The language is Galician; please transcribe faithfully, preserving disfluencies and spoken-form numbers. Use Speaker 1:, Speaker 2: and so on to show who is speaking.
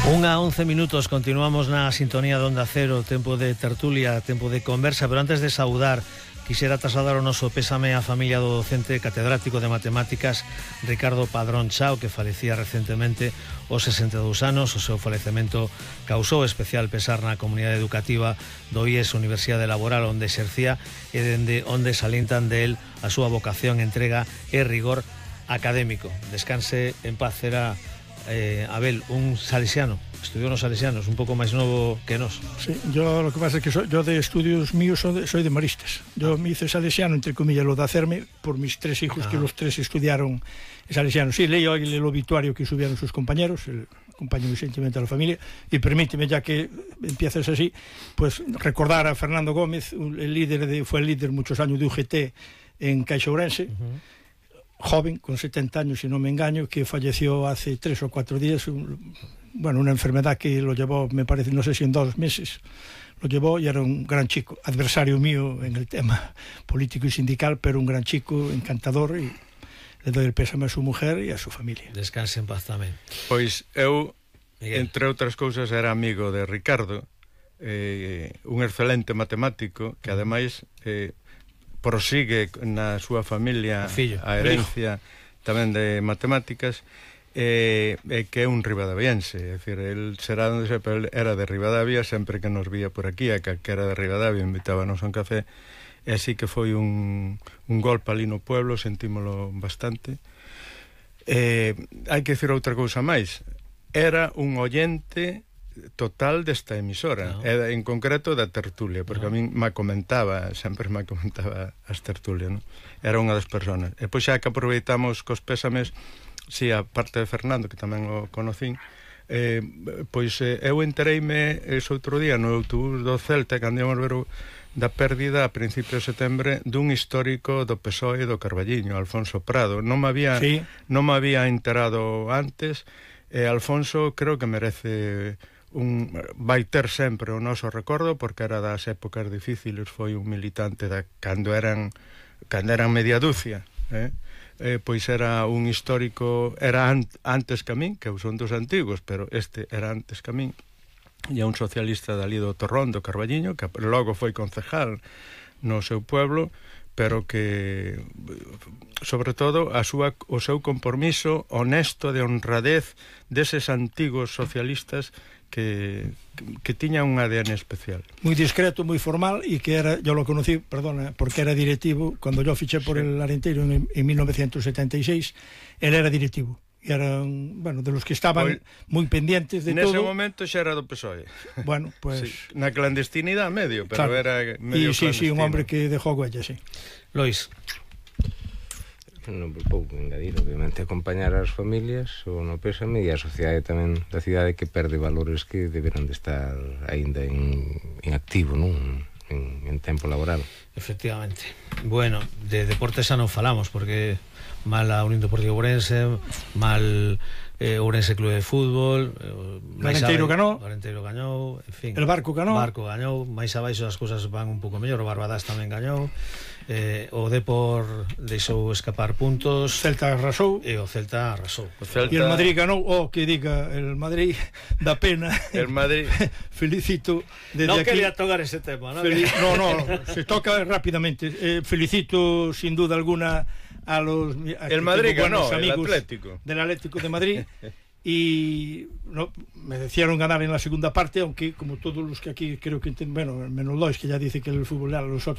Speaker 1: Unha once minutos, continuamos na sintonía de Onda Cero, tempo de tertulia, tempo de conversa, pero antes de saudar, quixera trasladar o noso pésame á familia do docente catedrático de matemáticas Ricardo Padrón Chao, que falecía recentemente aos sesenta e dous anos. O seu falecemento causou especial pesar na comunidade educativa do I E S Universidade Laboral, onde exercía e dende onde salientan del a súa vocación, entrega e rigor académico. Descanse en paz. Era Eh, Abel, un salesiano, estudió nos salesianos, un pouco máis novo que nós.
Speaker 2: Sí, yo lo que pasa es que soy, yo de estudios míos soy de, soy de maristas. Yo ah. me hice salesiano, entre comillas, lo de hacerme por mis tres hijos, ah. que los tres estudiaron salesianos. Sí, leí hoy el obituario que subieron sus compañeros, el compañero muy sentimental de la familia, y permíteme, ya que empiezas así, pues recordar a Fernando Gómez, el líder de, fue el líder muchos años de U G T en Caixa Ourense, uh-huh. joven, con setenta años, si no me engaño, que falleció hace tres o cuatro días, un, bueno, una enfermedad que lo llevó, me parece, no sé si en dos meses, lo llevó, y era un gran chico, adversario mío en el tema político y sindical, pero un gran chico, encantador, y le doy el pésame a su mujer y a su familia.
Speaker 1: Descanse en paz tamén.
Speaker 3: Pois eu,
Speaker 1: Miguel,
Speaker 3: entre outras cousas, era amigo de Ricardo, eh, un excelente matemático, que ademais eh, prosigue na súa familia a herencia tamén de matemáticas, e eh, que é un ribadaviense, é dicir, el será onde se, pero era de Ribadavia, sempre que nos vía por aquí, a calquera de Ribadavia invitábanos a un café, e así que foi un, un golpe ali no pueblo, sentímolo bastante. Eh, hai que dicir outra cousa máis, era un oyente total desta emisora, no. E en concreto da tertulia, porque no. a min me comentaba, sempre me comentaba as tertulias, no? Era unha das personas. E pois xa que aproveitamos cos pésames, si, a parte de Fernando, que tamén o conocín, eh, pois eh, eu entereime ese outro día no autobús do Celta, cando íamos ver o, da pérdida a principios de setembro dun histórico do P S O E do Carballiño, Alfonso Prado. Non me había, sí. non me había enterado antes, e Alfonso creo que merece un, vai ter sempre o noso recordo, porque era das épocas difíciles, foi un militante da, cando eran cando eran media dúcia, eh? Eh, pois era un histórico, era an, antes que a min, que eu son dos antigos, pero este era antes que a min, e un socialista dali do Torrón, do Carballiño, que logo foi concejal no seu pueblo, pero que, sobre todo, a súa, o seu compromiso honesto de honradez deses antigos socialistas que, que tiña un A D N especial.
Speaker 2: Muy discreto, muy formal, y que era, yo lo conocí, perdona, porque era directivo, cuando yo fiché por sí. el Arenteiro en, en mil novecientos setenta y seis, él era directivo. Y eran, bueno, de los que estaban pues, muy pendientes de
Speaker 3: nese
Speaker 2: todo.
Speaker 3: Nese momento xa era do P S O E.
Speaker 2: Bueno, pues...
Speaker 3: Sí, na clandestinidade medio, pero claro. era medio
Speaker 2: y, sí,
Speaker 3: clandestino.
Speaker 2: sí, un hombre que dejó huella, sí.
Speaker 1: Lois.
Speaker 4: Non pouco engadir, obviamente, acompañar as familias o no pésame, e a sociedade tamén da cidade, que perde valores que deberán de estar aínda en, en activo, non? En, en tempo laboral.
Speaker 1: Efectivamente. Bueno, de deportes xa non falamos, porque mal a Unión Deportiva Ourense, mal eh, Ourense Club de Fútbol,
Speaker 2: eh, Arenteiro ganou,
Speaker 1: Arenteiro gañou, en fin,
Speaker 2: el Barco ganou,
Speaker 1: Barco gañou, máis abaixo as cousas van un pouco mellor, o Barbadas tamén gañou, eh, o Depor deixou escapar puntos,
Speaker 2: Celta arrasou,
Speaker 1: e o Celta arrasou.
Speaker 2: O Celta... E el Madrid ganou, o oh, que diga, el Madrid da pena.
Speaker 3: El Madrid
Speaker 2: felicito desde
Speaker 1: no
Speaker 2: aquí.
Speaker 1: No quería tocar ese tema, ¿no?
Speaker 2: Fel... No, no, se toca rápidamente. Eh, felicito sin duda alguna a los a
Speaker 3: el Madrid ganó,
Speaker 2: amigos
Speaker 3: el Atlético
Speaker 2: del Atlético de Madrid. Y no, me decían ganar en la segunda parte, aunque como todos los que aquí creo que entienden, bueno, menos Lois, que ya dice que el fútbol a los otros